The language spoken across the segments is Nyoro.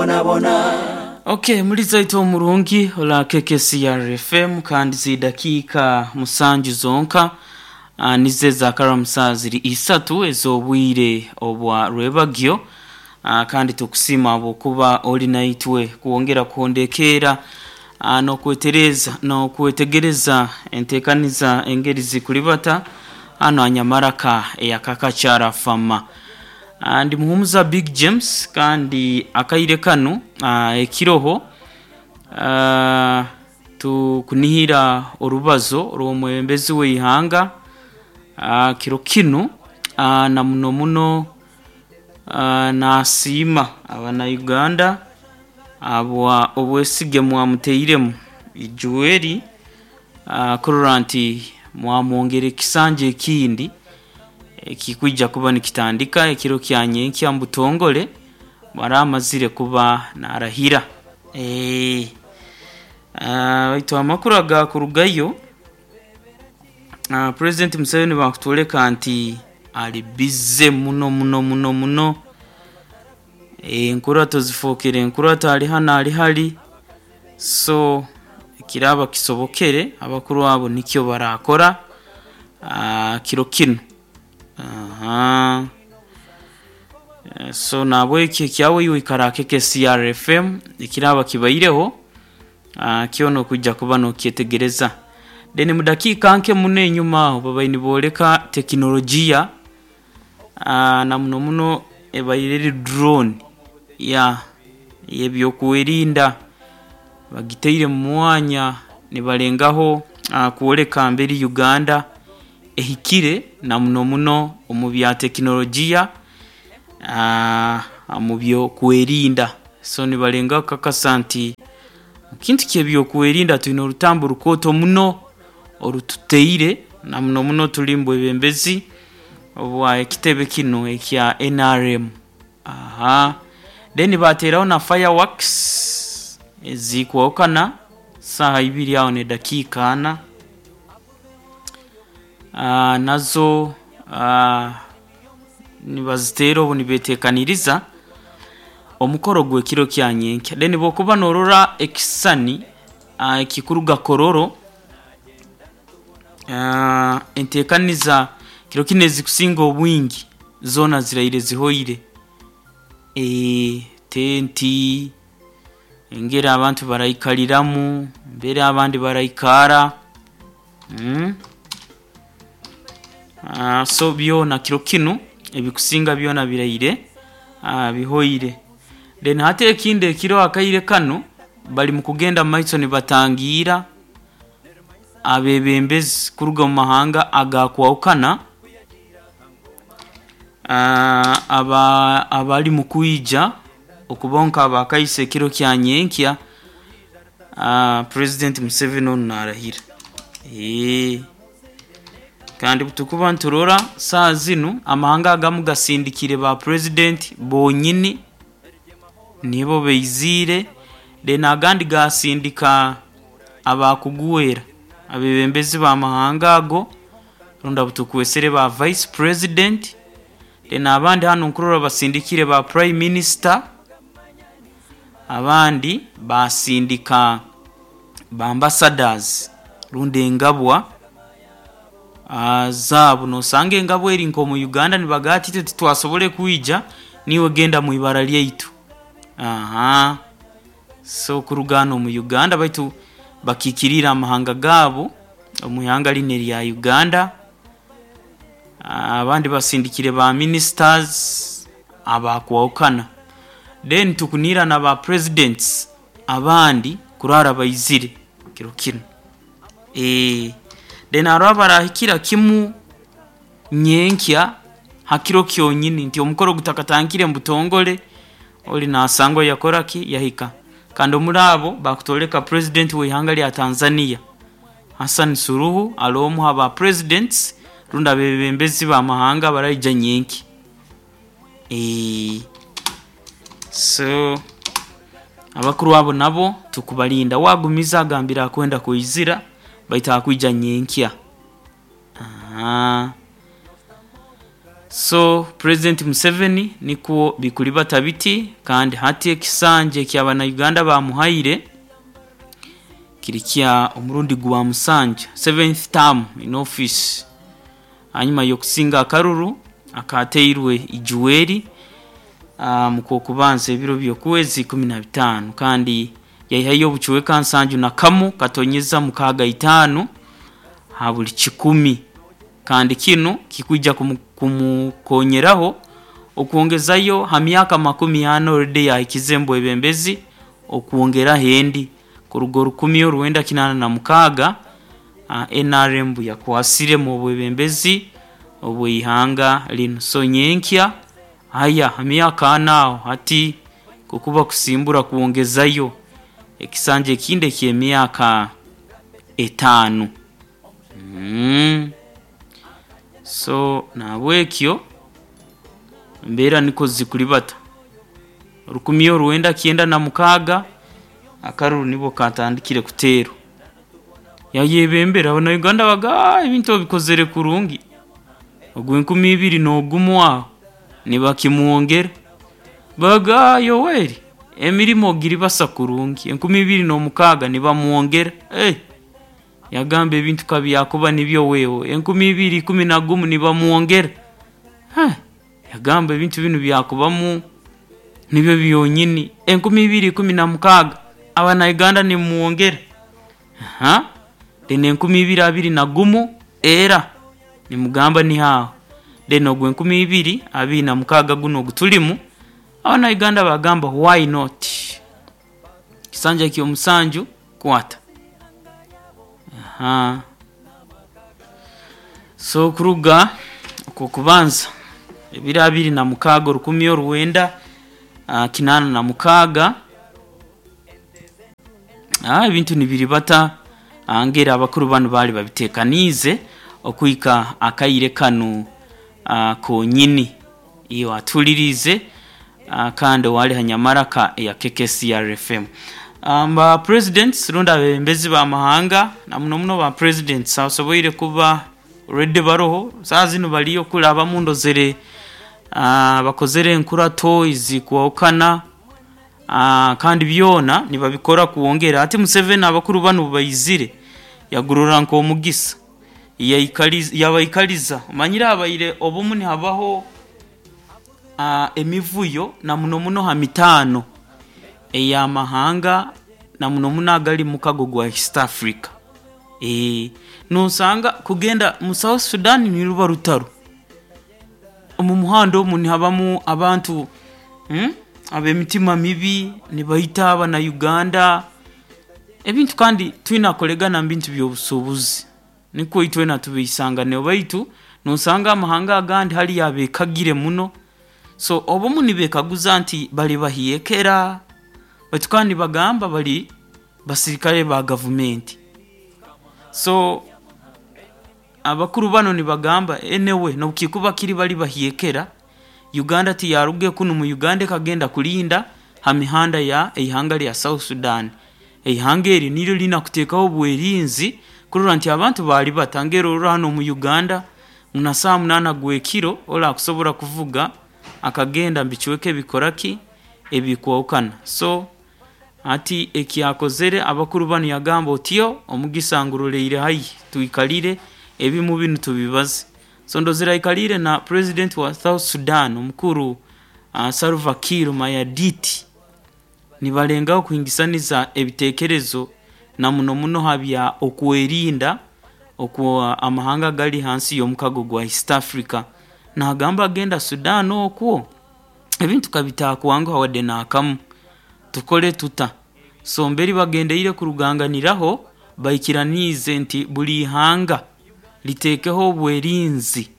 bonabona. Ok, muliza itwe omurungi ola KKCR FM kandi zidakiika musanju zonka nizo ezakara saa ziri isatu ez'obwire obwa rwebagyo kandi tukusiima habwokuba ori naitwe kwongera kuhondekeera n'okwetereza n'okwetegereza enteekaniza engeri zikuribata hanu ha Nyamaraka eya Kakakyara Fama. Ndi Muhumuza Big James kandi akaire kanu ekiroho tukunihira orubazo rw'omwebembezi w'eihanga kiro kinu na muno muno nasiima abana-Uganda habwa obwesige mwamuteiremu Joel kurora nti mwamwongera ekisanja ekindi ekikwija kuba nikitandika ekiro kya nyenkya omu butongole mara amazire kuba narahira. Baitu amakuru agakurugayo President Museveni bakutwoleka nti ali busy muno muno muno muno enkurato zifookere enkurato ali hanu ali hali so ekiraaba kisobokere abakuru abo nikyo barakora kiro kinu. So nahabweki ekyawe iwe ikara ha KKCR FM ekiraaba kibaireho kyona okwija kuba nokyetegereza. Then mu dakiika nke muno enyuma aho babaire nibooleka tekinologiya na muno muno ebaire eri drone yeah ey'ebyokwerinda bagitaire mu mwanya nibalengaho kwoleka mberi Uganda ehikire na muno muno omu bya tekinologiya omu byokwerinda. So nibalengaho kukakasa nti ekintu ky'ebyokwerinda twine orutambu rukooto muno orututeire na muno muno turi omu bwebembezi obwa ekitebe kinu ekya NRM. Then bateeraho na fireworks ezikwahukana saaha ibiri aho n'edakiika ana nazo nibaziteera obu nibeteekaniriza omukoro gw'ekiro kya nyenkya. Then bw'okuba norora ekisisani ekikuruga Kololo enteekaniza kiro kinu ezikusinga obwingi zoona ziraire zihoire. Tenti, engeri abantu baraikariramu, mbere abandi baraikara, so byona kiro kinu ebikusinga byona biraire bihoire. Then hati ekindi ekiroho akaire kanu bari mukugenda mumaiso nibatangiira abebembezi kuruga omu mahanga agakwahukana abari mukwija okubaho nk'abakaiso ekiro kya nyenkya President Museveni onu narahira. Kandi obutukuba niturora saaha zinu amahanga agamu gasindikire ba president bonyini nibo baiziire then agandi gasindika abakugwera abebembezi b'amahanga ago rundi abu tukwesere ba vice president then abandi hanu nkurora basindikire ba prime minister abandi basindika ba ambassadors rundi engabwa zaabo. Nosanga engabwa eri nk'omu Uganda nibagamba ati itwe titwasobora kwija niiwe genda mu ibara lyaitu. So kuruga hanu omu Uganda baitu bakiikiriire amahanga gaabo omu ihanga linu erya Uganda. Abandi basindikire ba ministers abakwahukana. Then tukuniira na ba presidents abandi kurara baizire kiro kinu. Then haroho abarahikira kimu nyenkya ha kiro kyonyini nti omukoro gutakatandikire omu butongole ori nasangwa yakora ki? Yahika. Kandi omuri abo bakutwoleka president w'eihanga rya Tanzania Hassan Suluhu ari omu ha ba presidents rundi abebembezi b'amahanga abaraija nyenkya. So abakuru abo nabo tukubarinda wagumiza agambire akwenda kwizira baitu akwija nyenkya. So President Museveni nikwo bikulibata biti, kandi hati ekisanja eky'abannayuganda bamuhaire kiri kya omurundi gwa musanju, seventh term in office, hanyuma y'okusinga akaruru akateirwe Ijuweri mu Kwokubanza ebiro by'okwezi 15, kandi yaihayo obucweka 71.65 ha buli kikumi, kandi kinu kikwija kumukonyeraho okwongezayo ha myaka 40 already yahikize omu bwebembezi, okwongeraho endi kuruga 1986 NRM buyakwasiremu obwebembezi obw'eihanga linu. So nyenkya haya ha myaka ana aho hati kukuba kusimbura kwongezayo ekisanja ekindi eky'emyaka 5. So nahabwekyo embeera nikwo zikulibata. 1996 akaruru nibwo katandikire kuteerwa. Yayebembera abannayuganda baga ebintu obikozere kurungi. Ogw'e2001 aho nibakimwongera. Baga Yoweri emirimo ogiribasa kurungi. 2006 nibamwongera. Yagamba ebintu kabyakuba nibyo wewe. 2011 nibamwongera. Yagamba ebintu binu byakubamu nibyo byonyini. 2016 abannayuganda nimumwongera. Then 2021 era nimugamba niho aho. Then ogw'e2026 gunu ogutulimu abannayuganda bagamba why not? Kisanja ky'omusanju kwata. So kuruga okwokubanza ebiro 26 1986 ebintu nibiribata ngeri abakuru banu baali babitekaniize okuhika akaire kanu konyini. Iyo atuliriize kandi owali ha nyamaraka eya KKCR FM. Ba presidents rundi abebembezi b'amahanga na muno muno ba presidents abasoboire kuba already baroho saaha zinu baliyo kuli abamu ndozere bakozere enkurato ezikwahukana, kandi byona nibabikora kwongera. Hati Museveni abakuru banu obubaizire yagurora nk'omugisa, yabaikaliza. Omanyire habaire obumu nihabaho emivuyo na muno muno ha mitaano ey'amahanga na muno muno agali mukago gwa East Africa. Nosanga kugenda mu South Sudan niruba rutaro. Omu muhanda omu nihabamu abantu ab'emitima mibi nibaita abannayuganda. Ebintu kandi twina kukoregana mu bintu by'obusuubuzi nikwo itwena tubiisanganeho, baitu nosanga amahanga agandi haliyo abeekagire muno. So obumu nibeekaguza nti bali bahyekera, baitu kandi nibagamba bali basirikale ba gavumenti. So abakuru banu nibagamba anyway n'obukikuba kiri bali bahyekera, Uganda tiyaruge kunu mu Uganda ekagenda kulinda ha mihanda ya eihanga lya South Sudan. Eihanga eri niryo liina kuteekaho obwerinzi kurora nti abantu baalibata. Ngeri orora hanu omu Uganda na saaha 8 gw'ekiro orakusobora kuvuga akagenda mu bicweka ebikora ki? Ebikwahukana. So hati ekyakozere abakuru banu yagamba otyo omugisa nguroleire haihi twikalire ebimu binu tubibaze. So ndozere aikaliire na president wa South Sudan omukuru Salva Kiir Mayardit nibalengaho kuhingisaniza ebiteekerezo na muno muno ha bya okwerinda okwa amahanga agali hansi y'omukago gwa East Africa. Naagamba agenda Sudan okwo ebintu kabitakwanguha wadde n'akamu. Tukole tuta? So mberi bagendeire kuruganganiraho baikiraniize nti buli ihanga liteekeho obwerinzi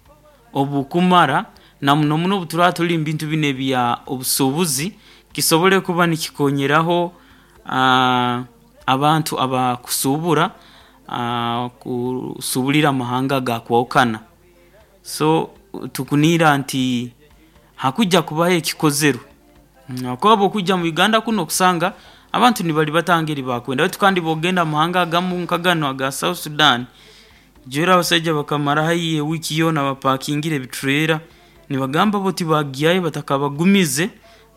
obukumara na muno muno obuturaba tuli mu bintu binu ebya obusuubuzi kisobole kuba nikikonyeraho abantu abakusuubura kusuubulira amahanga agakwahukana. So tukuniira nti hakuja kubaho ekikozerwe habwokuba bw'okwija mu Uganda kunu okusanga abantu nibalibata ngeri bakwenda, baitu kandi bw'ogenda mu mahanga agamu nka ganu aga South Sudan, jwera abasaija bakamara haihi ewiiki yoona bapakingire ebitureera. Nibagamba bo tibagyayo batakabagumize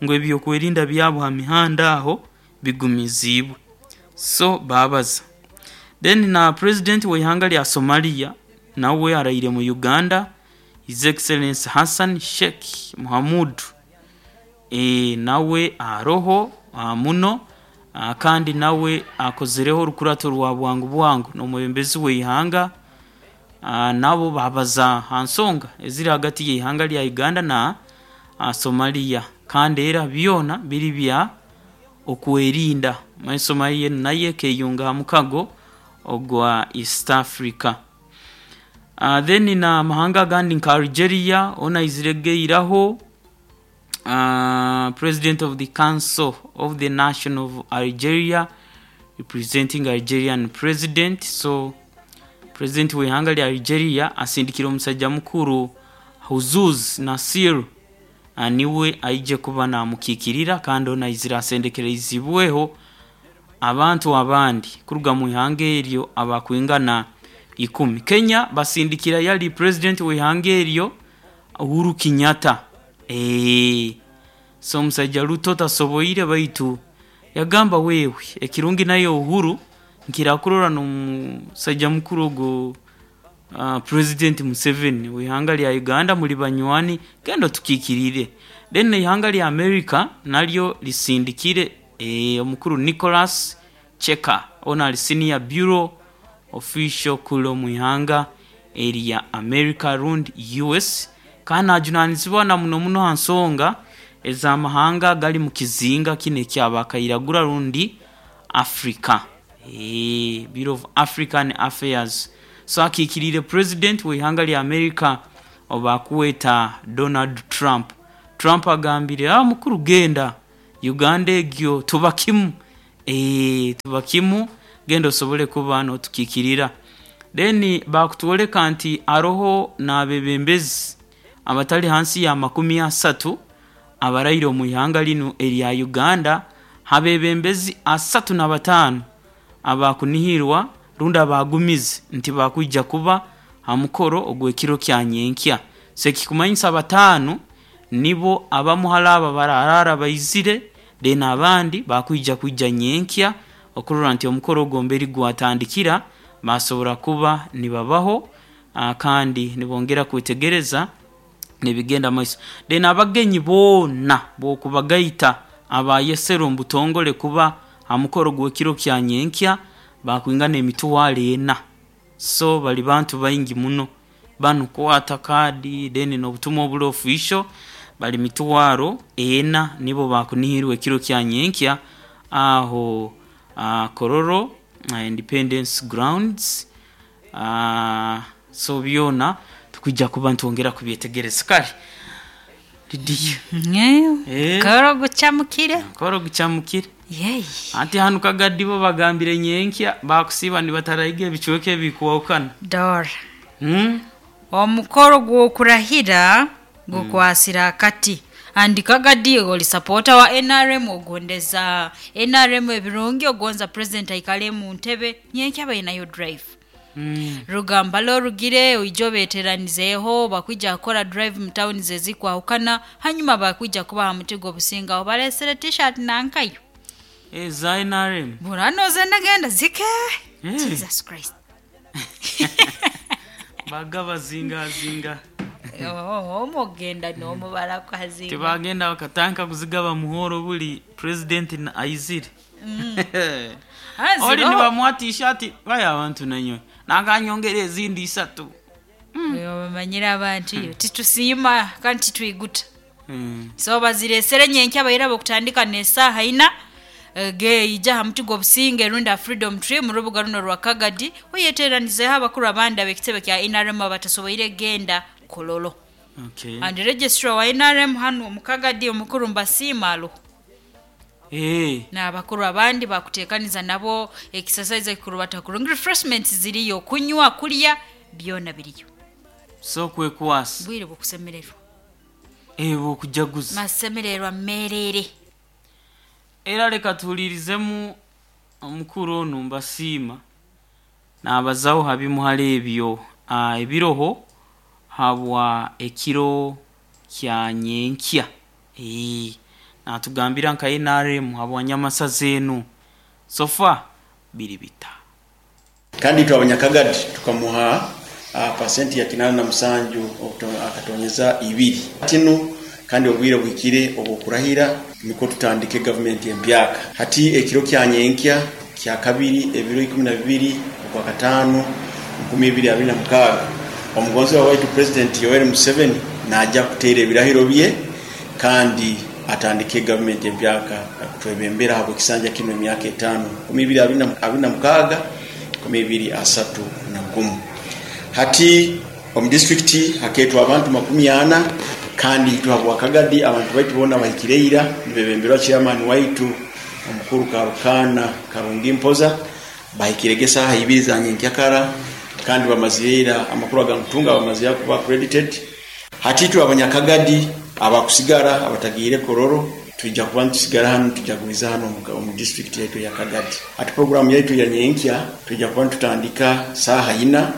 ngu ebyokwerinda byabo ha mihanda aho bigumiziibwe. So babaza. Then na president w'ihanga lya Somalia nawe araire mu Uganda, His Excellency Hassan Sheikh Mohamud, nawe aroho muno, kandi nawe akozereho orukurato rwa bwangu bwangu n'omwebembezi w'ihanga. Nabo babaza ha nsonga eziri hagati y'ihanga lya Uganda na Somalia, kandi era byona biri bya okwerinda. Manya Somalia enu nayo ekeyunga ha mukago ogwa East Africa. Then na amahanga agandi nka Algeria ona aizire geiraho, President of the Council of the Nation of Algeria representing Algerian President. So President w'ihanga lya Algeria asindikire omusajja mukuru Huzuz Nasir, niwe aije kuba namukikirira, kandi ono aizire asendekereizibweho abantu abandi kuruga mu ihanga eryo abakwingana 10. Kenya basindikira yali President w'ihanga eryo Uhuru Kenyatta. So omusajja Ruto tasoboire, baitu yagamba wewe ekirungi nayo Uhuru nkirakurora n'omusajja mukuru ogo, President Museveni w'ihanga lya Uganda, muri banywani, genda otukikirire. Then ihanga lya America naryo lisindikire omukuru Nicholas Cheka, ono ali senior bureau official kule omu ihanga erya America rundi US, kandi najunanizibwa na muno muno ha nsonga ez'amahanga gali mu kizinga kino ekyabakairagura rundi Africa, Bureau of African Affairs. So akikirire President w'ihanga lya America obakuweta Donald Trump. Trump agambire, mukuru genda Uganda egyo tuba kimu, tuba kimu, genda osobole kuba notukikirira. Then bakutwoleka nti aroho n'abebembezi abatali hansi ya 30 abaraire omu ihanga linu erya Uganda. Habebembezi 35 abakunihirwa rundi abagumize nti bakwija kuba ha mukoro ogw'ekiro kya nyenkya. So ekikumanyisa 5 nibo abamuhara aba bararara baizire, then abandi bakwija kwija nyenkya okurora nti omukoro ogwo mberi gwatandikira basobora kuba nibabaho, kandi nibongera kwetegereza nibigenda maiso. Then abagenyi boona bokubagaita abayesero omu butongole kuba ha mukoro gw'ekiro kya nyenkya bakwingana emitwaro 4. So bali bantu baingi muno banu kwata kadi then n'obutumwa obuli official, bali mitwaro 4 nibo bakunihirwa ekiro kya nyenkya aho Kororo Independence Grounds. So byona tukwija kuba ntwongera kubyetegereza. Kale Lidiya, Koro gucamukire. Koro gucamukire. Yeyi. Anti hanu Kagadi bo bagambire nyenkya bakusiba nibatarayiga ebicweka ebikwahukana. Dora. Omukoro gw'okurahira gukwasira akati. Andi Kagadi oli supporter wa NRM, ogondeza NRM ebirungi, ogonza president aikale mu ntebe, nyenkya bainayo drive. Rugamba lorugire oijo beteranizeeho bakwija kukora drive mu town zezikwahukana, hanyuma bakwija kubaha mutigo obusinga obalesere t-shirt nankayo. Za NRM. Burano zenagenda zike. Jesus Christ. Bagaba zinga zinga. Omugenda n'omubala kwazinga. Tibagenda bakatandika kuzigaba muhoro buli president na aizire. Oli nibamuha t-shirt baya abantu nanyo. Nanganyongera ezindi 3. Bamanyira abantu iyo titusiima kandi titwiguta. So baziresere nyenkya bayira bokutandika n'esaaha 4 ge ija ha muti gw'obusinge runda Freedom Tree mu rubuga runo rwa Kagadi, oyeteranizeho abakuru abandi ab'ekitebe kya NRM abatasoboire genda Kololo. And registrar wa NRM hano mu Kagadi omukuru Mbasiima alo. N'abakuru abandi bakuteekaniza nabo exercise ekikuru batakurungi, refreshments ziriyo, kunywa kulya byona biriyo. So kwekwasa. Bwire bukusemererwa. Bukujaguza. Masemererwa merere. Era leka tuhulirizemu omukuru ono Mbasiima nabazaho habimuhara ebyo, ebiroho habwa ekiro Kya nyenkya. Natugambira nka NRM habwanyamasaza enu sofa biri bita. Kandi itwe abanyakagadi tukamuha pasenti ya 87 akatonyeza 2 tinu, kandi obwire bwikire obwokurahira niko tutandike gavumenti empyaka. Hati ekiro kya nyenkya kya kabiri ebiro 12 okwa 5 2026 omugonzi wa waitu President Yoweri Museveni naja kuteera ebirahiro bye kandi atandike gavumenti empyaka kutwebembera habw'ekisanja kinu emyaka 5 2026 2031. Hati omu disitulikiti hakeetwa abantu 40 kandi itwe habwakagadi abantu baitu boona bahikire ira nibebemberwa chairman waitu omukuru Karukana Karungi Mpoza, bahikirege esaaha 2 za nyenkyakara kandi bamazire ira amakuru agankutunga bamazire kuba accredited. Hati itwe abanyakagadi abakusigara abatagiire Kororo tujja kuba nitusigara hano, tujaguliza hano omu district yaitu ya Kagadi. Hati programu yaitu ya nyenkya tujja kuba nitutandika saaha 4,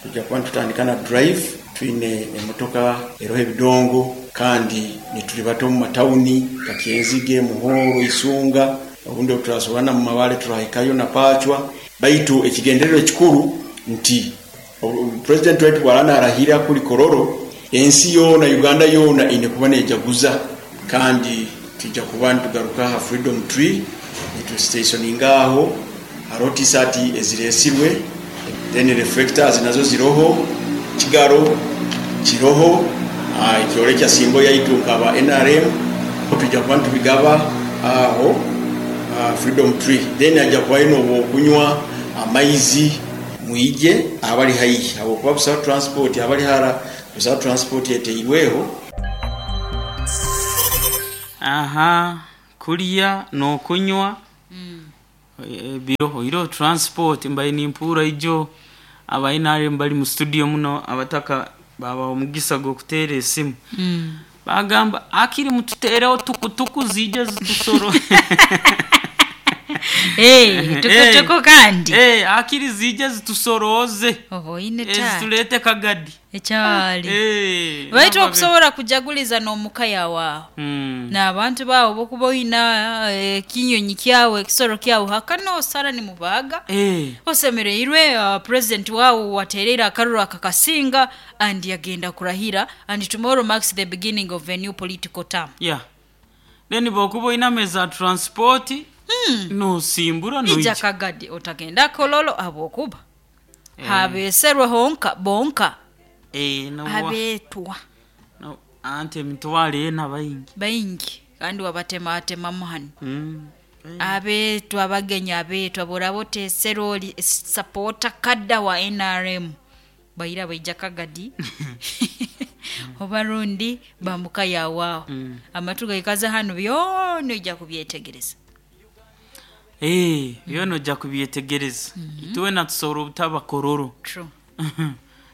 tujja kuba nitutandika na drive, twine emotoka eroho ebidongo kandi nitulibata omu matawuni Kakyenzige, Muhoro, Isunga, obundi turasobola mu Mabale turahikayo na Pachwa. Baitu ekigendererwa ekikuru nti President waitu bw'araba narahira kuli Kororo, ensi yoona Uganda yoona ine kuba nejaguza, kandi tujja kuba nitugaruka ha Freedom Tree nitustationinga aho hariho t-shirt eziresirwe, then reflectors nazo ziroho, kigaro kiroho, ekyore kya simbo yaitu nkaba NRM tujja kuba nitubigaba aho Freedom Tree. Then ajja kuba ino okunywa amaizi mwije abali haihi habwokuba busaho transport, abali hara busaho transport eteirweho. Aha, kulya n'okunywa biroho iro transport mbaye nimpura ijo aba NRM bali mu studio muno abataka baba omugisa gw'okuteera esimu. Bagamba akiri mututeereho tukutuku zije zitusoro. Tukutuku kandi akiri zije zitusoroze oboine tata zitulete Kagadi ekyali. Baitu okusobola kujaguliza n'omukaya waawe n'abantu baawe bokuba oyina ekinyonyi kyawe ekisoro kyawe hakana osara nimubaga osemereirwe. President waawe watereire akaruru akakasinga and yagenda kurahira, and tomorrow marks the beginning of a new political term. Yeah. Then bokuba oyina meza transport nosimbura ija noija Kagadi otagenda Kololo habwokuba habeserwe honka bonka abetwa no, ante emitwaro ena baingi baingi kandi wabatematemamu hano. Abetwa abagenyi abetwa boraba otesere oli sapota kadda wa NRM baira baija Kagadi oba rundi bambuka yawaawo. Amatu gaikaze hano byona ojja kubyetegereza. Byona ojja kubyetegereza. Itwe natusobola obutaba Kororo. True.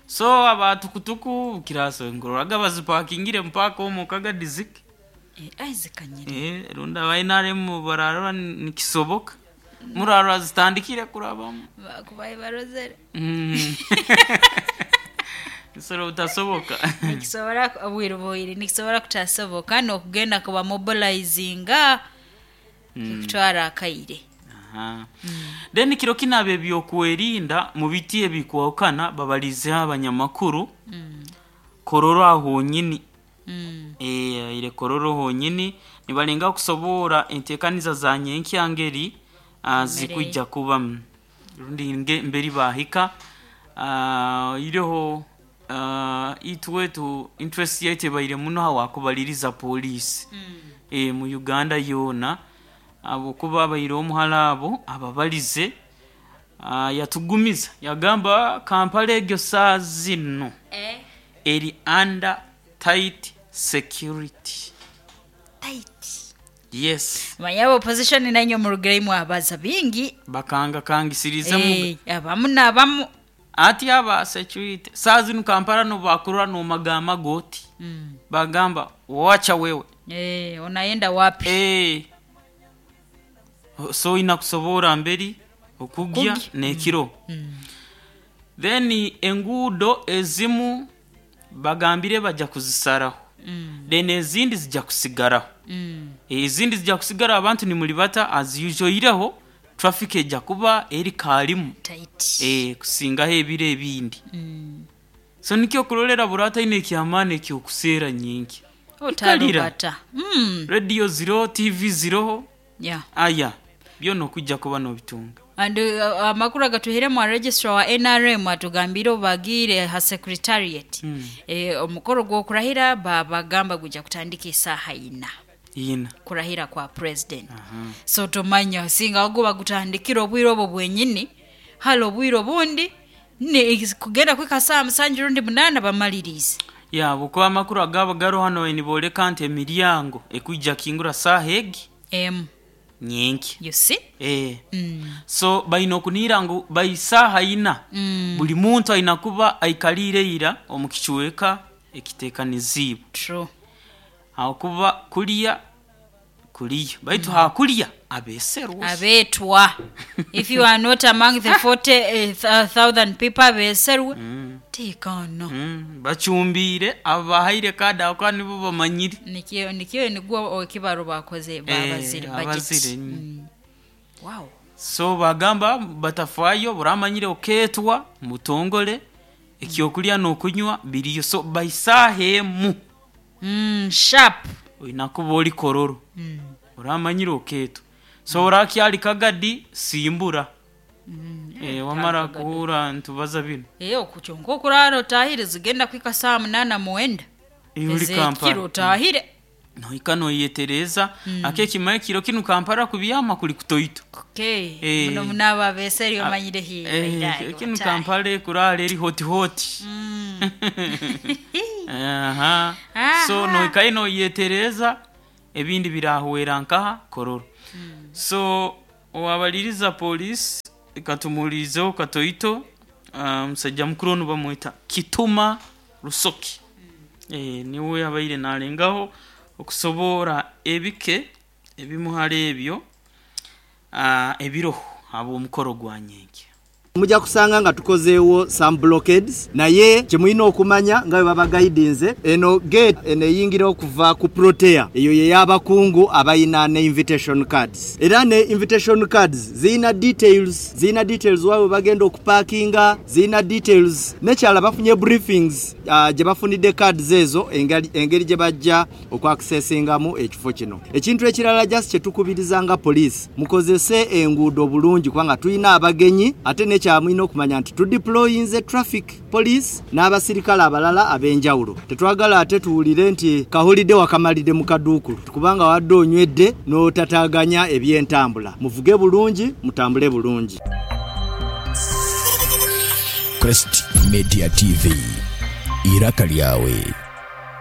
So abatukutuku kiraso ngororaga bazipakingire mpaka omu Kagadi zike. Aizikanyire. Runda aba NRM bararora nikisoboka murarora zitandikire kurabamu bakubaye barozere. Kisoro butasoboka. Nikisobora obwire bwire nikisobora kutasoboka n'okugenda kuba mobilizinga kutwara akaire. Then kiro kinabe ebyokwerinda mu biti ebikwahukana babalizeho abanyamakuru Kororo ahonyini. Ire Kororo honyini nibalenga kusobora entekaniza za nyenkyangeri zikujja kuba rundi mberi bahika ireho itwetu interest yaitu ebaire muno hawakubaliriza polisi mu Uganda yoona abokuba abaire omuhala abo ababalize yatugumiza yagamba Kampala egyo saa zino eri under tight security. Tight. Yes. Manya opposition nanyo murugiraimu abaza bingi bakanga kangisiriza mu abamu n'abamu ati aba security saa zino Kampala no bakurura no magamba goti. Bagamba wacha wewe unaenda wapi? So inakusobora mberi okugya nekiro. Then enguudo ezimu bagambire bajja kuzisaraho. Then ezindi zija kusigaraho. Ezindi zija kusigaraho abantu nimulibata as usual oihireho traffic eja kuba eri kaalimu Tight. Kusingaho ebiro ebindi. So nikyo okurorera buri ataine eky'amaani eky'okuseera nyenkya. Ikalira. Otarubata. Radio ziroho, TV ziroho, Yeah. aya byona okwija kuba nobitunga. And amakuru agatuhairemu registrar wa NRM atugambiire obu bagiire ha secretariat omukoro gw'okurahira babagamba gujja kutandika esaaha ina. Ina. Kurahira kwa president. So tomanya singa guba gutandikira obwire obwo bwenyini hali obwire obundi ni kugenda kwika saa 7 rundi 8 bamalirize. Ya, bukuba amakuru agaba garo hano niboleka nti emiryango ekwija kingura saaha egi nyenki. You see? So baina okunira ngu baisaha ina. Buli muntu aina kuba aikalire ira omu kichweka ekitekanizibwe. True. Hakuba kuliya kuliya baitu hakulya abeserwa. Abetwa. If you are not among the 40,000 people abeserwa. Tikano. Bachumbire abahaire kada kwa nibo bamanyire. Nikyo nikyo nigwo ekibaro bakoze babazire budget. Abazire. Wow. So bagamba batafayo buramanyire oketwa mutongole ekyokulya n'okunywa biriyo so baisahemu. Sharp. Oinakuba oli kororo. Oramanyire oketwa. So orakyali kagadi simbura. Wamara kuhura ntubaza bino. Okukyonka okurara otahire zigenda kwika saa 8 muwenda. Uri Ezekiro Kampala. otahire. Noika noyetereza akekima ekiro kinu Kampala kubyama kuli kutoito. Okay. Muno munaba abeseri omanyire hi. Kinu Kampala kurara eri hoti hoti. Aha. So noika noyetereza ebindi birahwera nkaha kororo. So owabaliriza police ikatumulizeho katoito musajja mukuru ono bamweta Kituma Rusoki. Niwe abaire nalengaho okusobora ebike ebimuhara ebyo ebiroho abo omukoro gwa nyenke. Mujja kusanga nga tukozeewo some blockades naye kye mulina okumanya nga bwe babagaidinze eno gate eno eyingira okuva ku Protea eyo ye y'abakungu abalina ne invitation cards era ne invitation cards zirina details zirina details waabwe bagenda okuparkinga zirina details nekyala bafunye briefings gye bafunidde cards ezo engeri gye bajja okwaccessingamu ekifo kino. Ekintu ekirala just kye tukubiriza nga police mukozese enguudo bulungi kubanga tulina abagenyi ate ne kyamulina okumanya nti tudeployinze traffic police n'abasirikale abalala ab'enjawulo. Tetwagala ate tuwulire nti kahulidde wakamalidde mu kaduukulu kubanga wadde onywedde n'otataganya ebyentambula. Muvuge bulungi, mutambule bulungi. Crest Media TV, iraka lyawe.